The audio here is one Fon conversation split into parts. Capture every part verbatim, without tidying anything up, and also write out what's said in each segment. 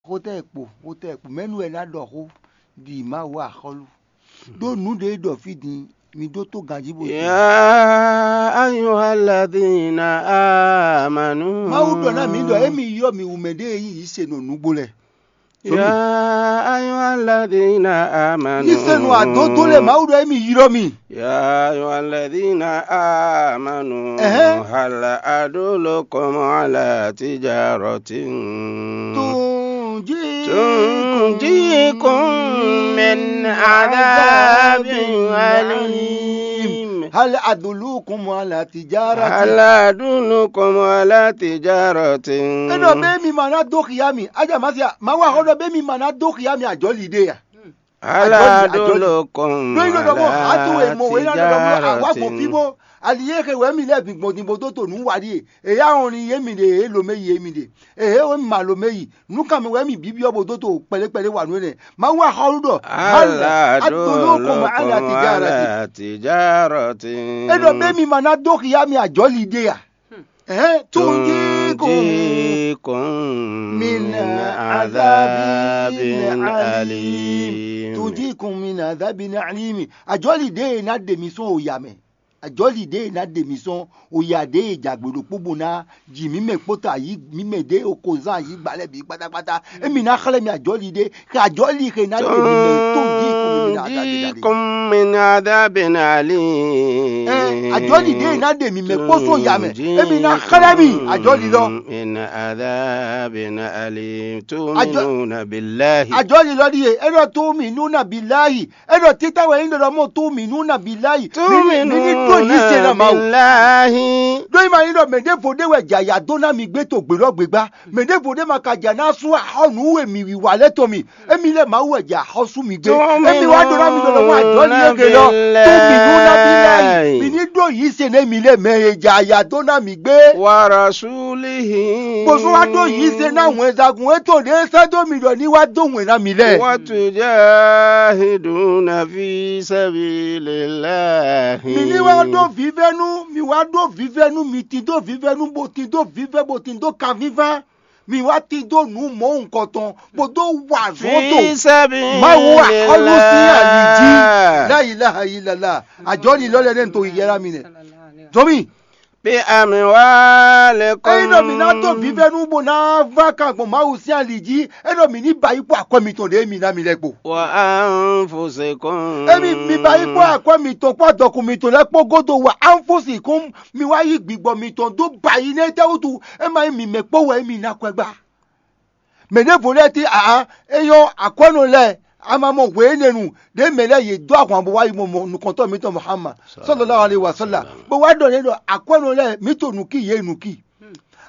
Xótɛ́ e kpo, xótɛ́ e kpo, mɛ̌nu wɛ ná ɖɔ xó ɖi Mawu axɔ́lú? Ɖó nǔ ɖé e ɖɔ fí din, mi ɖótó ganjí bó. يا أيها الذين آمنوا. Mawu ɖɔ ná mǐ ɖɔ émí ylɔ́ mì wú mɛ ɖé e nyí yǐsenɔ nǔgbó lɛ́ɛ. يا أيها الذين آمنوا. Yísenu adódó lɛ́ɛ, Mawu ɖɔ émí ylɔ́ mì. يا أيها الذين آمنوا. Ɛhɛn. هل أدلكم على تجارة. تنجيكم. تنجيكم من عذاب أليم. هل أدلكم على تجارة. هل أدلكم على تجارة. É ɖɔ bɛ́ mi ma ná dó xia mi. Ájá Masia, Mawu axɔ́ ɖɔ bɛ́ mi ma ná dó xia mi ajɔ̌li ɖé a? هل أدلكم. Ɖó yi ɖɔ ɖɔ mɔ hatu e mɔ wě ná ɖɔ ɖɔ mɔ àwa gbɔn fí bó. Ali e xe wɛ mi lɛ́ɛ bǐ gbɔn din bó dó to nǔ wa ɖíe. Èyá ɔn ni yé mi ɖe, èé lo mɛ yi yé mi ɖe. Èé wɛ mi ma lo mɛ yi. Nǔ kan mɛ wɛ mi bǐbyɔ́ bó dó to kpɛɖé kpɛɖé wa nǔ énɛ́. Mawu axɔ́lú ɖɔ. هل أدلكم على تجارة. É ɖɔ bɛ́ mi ma ná dó xia mi ajɔ̌li ɖé a? Ɛhɛn, tunjikum. تنجيكم من عذاب أليم. Tunjikum min adhabin alim. Ajɔli ɖe e ná ɖe mi sɔn oya mɛ. Ajɔli ɖe e ná ɖe mi sɔn oya ɖe e jagbe ɖokpó bo ná ji mǐ mɛ kpótó ayǐ mǐ mɛ ɖe o ko zán ayǐ gba lɛ́ɛ bǐ kpátákpátá. Émi ná xlɛ́ mi ajɔli ɖe, xɛ ajɔli xe ná ɖe mi mɛ tunjikum min adhabin alim. تنجيكم من عذاب أليم. Ɛ, ajɔli ɖe e ná ɖe mi mɛ kpó sɔn ya mɛ, émi ná xlɛ́ mi ajɔli lɔ. من عذاب أليم. تؤمنون بالله. Ajɔli lɔ ɖíe, é ɖɔ tu'minuna billahi, é ɖɔ títá wɛ nyí ɖɔ mɔ tu'minuna billahi. Mi ní ɖó yí se ná Mawu. تؤمنون بالله. Ɖó yi ma nyí ɖɔ mɛ ɖěvo ɖé wɛ jɛ aya dó ná mi gbé to gbě lɔ gbégbá. Mɛ ɖěvo ɖé ma ka jɛ ná sú axɔ́ nǔ e mi wiwa lɛ́ɛ tɔn mi. Émi lɛ́ɛ Mawu wɛ jɛ axɔ́sú mi gbé. Émi wá ɖó ná mi ɖɔ mɔ ajɔli e gbe lɔ. Tu'minuna billahi. Mi ní ɖó yí se nú émi lɛ́ɛ mɛ e jɛ aya dó ná mi gbé. ورسوله. Bó sɔ́ wá ɖó yí se ná wɛnsagun étɔn ɖě sɛ́ dó mi ɖɔ ní wá dó wɛn ná mi lɛ́ɛ. وتجاهدون في سبيل الله. Mi ní wá ɖó vívɛ́nú, mi wá ɖó vívɛ́nú, mi tin dó vívɛ́nú, bó tin dó vívɛ́, bó tin dó kanvívá. Mi wá tin dó nǔ mɔ̌ nukɔntɔn, bó dó wa azɔ̌ tó. Mawu axɔ́lú sín ali jí. La ilaha illallah. Ajɔli lɔ lɛ́ɛ ɖe to yiyɛ la mi nɛ. Zɔmi. بأموالكم. Ényí ɖɔ mi ná dó vívɛ́nú bó ná vá kan gbɔn Mawu sín ali jí, é ɖɔ mi ní ba yí kpó akwɛ́ mitɔn ɖě mi ná mi lɛ́ kpo. وأنفسكم. Émi mi ba yí kpó akwɛ́ mitɔn kpó adɔkun mitɔn lɛ́ɛ kpó gúdo wa anfusikum, mi wá yí gbigbɔ mitɔn dó ba yí nɛ́ tɛ́wútu é ma nyí mi mɛ kpó wɛ mi ná kwɛ gbá. Mɛ ɖěvo lɛ́ɛ tín ǎ, é nyɔ́ akwɛ́nɔ lɛ́ɛ, a ma mɔ hwe énɛ́ nu ɖě mɛ lɛ́ɛ yě dó ahwan bó wá yi mɔ nukɔntɔ́ mǐtɔn Muhammad sallallahu alaihi wasallam, bó wá ɖɔ n'i ɖɔ akwɛ́nɔ lɛ́ɛ mǐ to nǔ kí yě nǔ kí.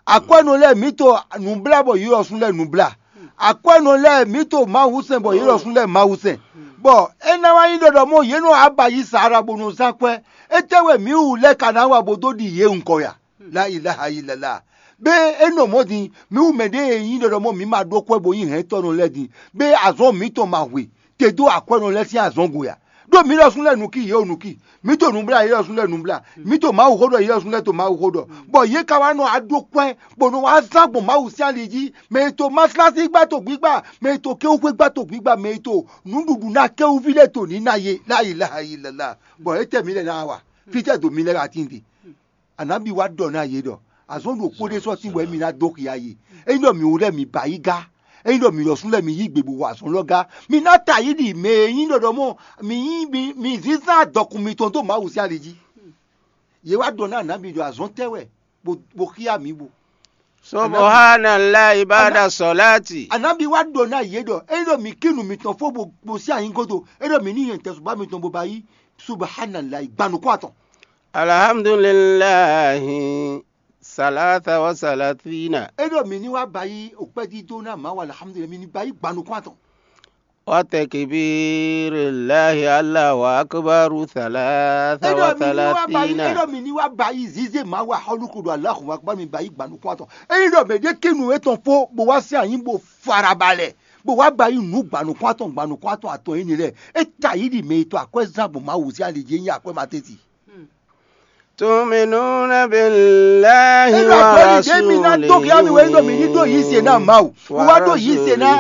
Akwɛ́nɔ lɛ́ɛ mǐ to nǔ blá bɔ yě lɔ sún lɛ́ɛ nǔ blá. Akwɛ́nɔ lɛ́ɛ mǐ to Mawu sɛn bɔ yě lɔ sún lɛ́ɛ Mawu sɛn. Bɔ é ná wá nyí ɖɔ ɖɔ mɔ yě nɔ wá ba yi Sahara bó nɔ zán kwɛ́. Étɛ́ wɛ mǐ wu lɛ́ɛ ka ná wa bó dó ɖi yě ŋkɔ ya? La ilaha illallah. Bé é nɔ mɔ̌ din, mǐ wu mɛ ɖé e nyí ɖɔɖɔmɔ mǐ ma ɖó kwɛ́ bo nyí hɛ̌ntɔ́nɔ lɛ́ɛ din, bé azɔn mǐtɔn ma hwe te dó akwɛ́nɔ lɛ́ɛ sín azɔn go ya. Ɖó mǐ lɔ sún lɛ́ɛ nǔ kí yě o nǔ kí, mǐ to nǔ blá yě lɔ sún lɛ́ɛ nǔ blá, mǐ to Mawu xó ɖɔ yě lɔ sún lɛ́ɛ to Mawu xó ɖɔ. Bɔ yě ka wá nɔ wá ɖó kwɛ́, bɔ nɔ wá zán gbɔn Mawu sín ali jí, mɛ e to másálásí gbá to gbígbá, mɛ e to kéwúxwé gbá to gbígbá, mɛ e to nǔɖuɖu ná kéwúví lɛ́ɛ to ní ná yě. La ilaha illallah. Bɔ étɛ́ mǐ lɛ́ ná wa? Fítɛ́ do mi lɛ́ wá tín din? Anabi wá ɖɔ ná yě ɖɔ azɔn ɖokpó ɖé sɔ́ sín bɔ émi ná dó xia yě. Ényí ɖɔ mǐ wú lɛ́ɛ mǐ ba yí gá, ényí ɖɔ mǐ lɔ sún lɛ́ɛ mǐ yí gbe bó wa azɔn lɔ gá, mǐ ná ta yí ɖi mɛ e nyí ɖɔɖɔ mɔ mǐ nyí mǐ mǐ zínzán adɔkun mitɔn dó Mawu sín ali jí. Yě wá ɖɔ ná Anabi ɖɔ azɔn tɛ́ wɛ bó bó xyá mǐ bo. Subhanallah ibada sɔláti. Anabi wá ɖɔ ná yě ɖɔ ényí ɖɔ mǐ kí nǔ mitɔn fó bó bó sí anyígódo, é ɖɔ mǐ ní nyɛ tɛsùbá mitɔn bó ba yí subhanallah gbanukun atɔn. Alhamdulillahi salasa wa salasina. É ɖɔ mǐ ní wá ba yí òkpɛ́dídó ná Mawu alhamdulilayi, mǐ ní ba yí gbanukun atɔn. Wa takbirillahi Allahu akbaru salasa wa salasina. É ɖɔ mǐ ní wá ba yí zízé Mawu axɔ́lúkúɖu Allahu akbaru mǐ ba yí gbanukun atɔn. Ényí ɖɔ mɛ ɖé kí nǔ étɔn fó bó wá sín anyí bó farabalẹ̀ bó wá ba yí nǔ gbanukun atɔn gbanukun atɔn atɔn énɛ́ lɛ́ɛ, é ta yí ɖi mɛ e to akwɛ́ zán gbɔn Mawu sín ali jí é nyí akwɛ́ ma tɛ́ntin. Tu'minuna billahi wa rasulihi. É ɖɔ akwɛ́ ɖi ɖě mi ná dó xyá mi wɛ é ɖɔ mi ní ɖó yí se ná Mawu. Wá ɖó yí se ná